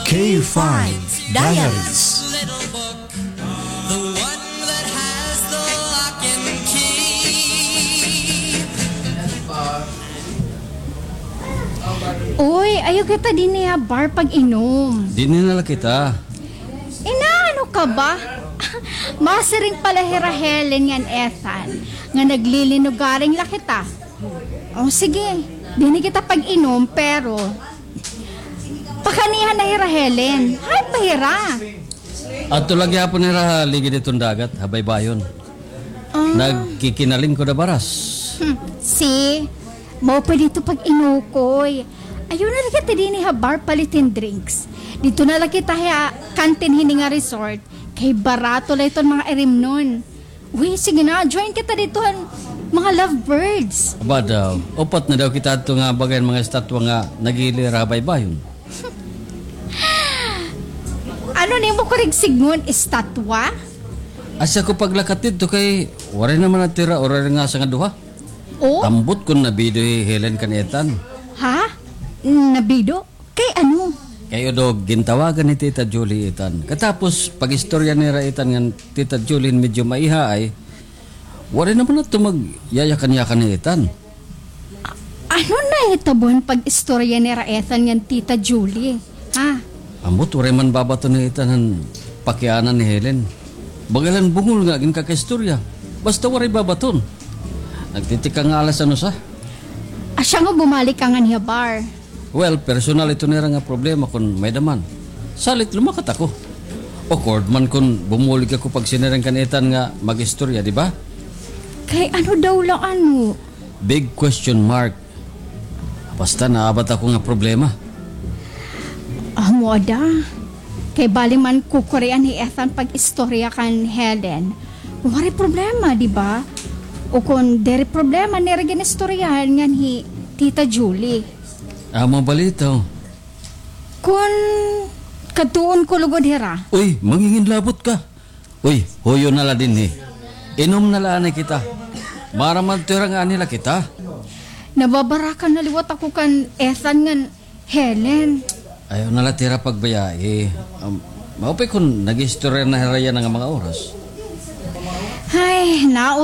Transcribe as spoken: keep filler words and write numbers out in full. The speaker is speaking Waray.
K five Diaries. Uy, ayaw kita dinhi ha bar pag-inom. Dinhi na la kita. Inaano ka ba? Masiring pala hira Helen ngan Ethan nga naglilinugaring la kita. O sige, dinhi kita pag-inom, pero pakaniha na hira Helen. Hay pa hira. Adto la gihapon hira ha ligid hiton dagat, ha baybayon. Ah. Nagkikinalingkod ha baras. Hmm. Si, mao pa didto pag-inukoy. Ayaw na la kita dinhi ha bar palitin drinks. Didto na la kita ha kantin hini nga resort. Kay barato la iton mga irimnon. Uy, sige na, join kita didto han mga lovebirds. Aba daw, upat na daw kita adto nga baga hin mga estatwa nga naghihilera ha baybayon. Ano nimo kurig sidngon, estatwa? Asya ko paglakat didto kay waray naman adto hira, waray nga asa nga duha. O? Ambot kon nabido hi Helen kan Ethan. Ha? Nabido? Kay ano? Kay udog, gintawagan ni Tita Julie hi Ethan. Katapos, pag-istorya nira hi Ethan ngan Tita Julie medyo maiha ay, waray naman adto magyayakan-yakan hi Ethan. Ano nahitabo han pag-istorya nira Ethan ngan Tita Julie? Ha? Ambot, waray man babaton hi Ethan han pakiana ni Helen. Baga la hin bungol nga ginkakaistorya. Basta waray babaton. Nagtitikang nga alas ano sa? Asya nga bumalik ka nganhi ha bar. Well, personal ito nira nga problema kon may-ada man. Salit lumakat ako. Awkward man kon bumulig ako pagsiniring kan Ethan nga mag-istorya, di ba? Kay ano daw la ano? Big question mark. Basta naabat ako nga problema. Amo ada. Kay bali man kukurian hi Ethan pag-istorya kan Helen. Waray problema, di ba? O kon diri problema nira gin-istoryahan nganhi Tita Julie. Amo balitaw. Kon kadtuon ko lugod hira. Uy, manginginlabot ka. Uy, huyo na la dinhi. Inom na la anay kita. Maaram man hira nga anhi la kita. Nababaraka na liwat ako kan Ethan ngan Helen. Ayaw na la hira pagbayai. Um, maupay kon nag-istorya na hira yana nga mga oras. Hay, naot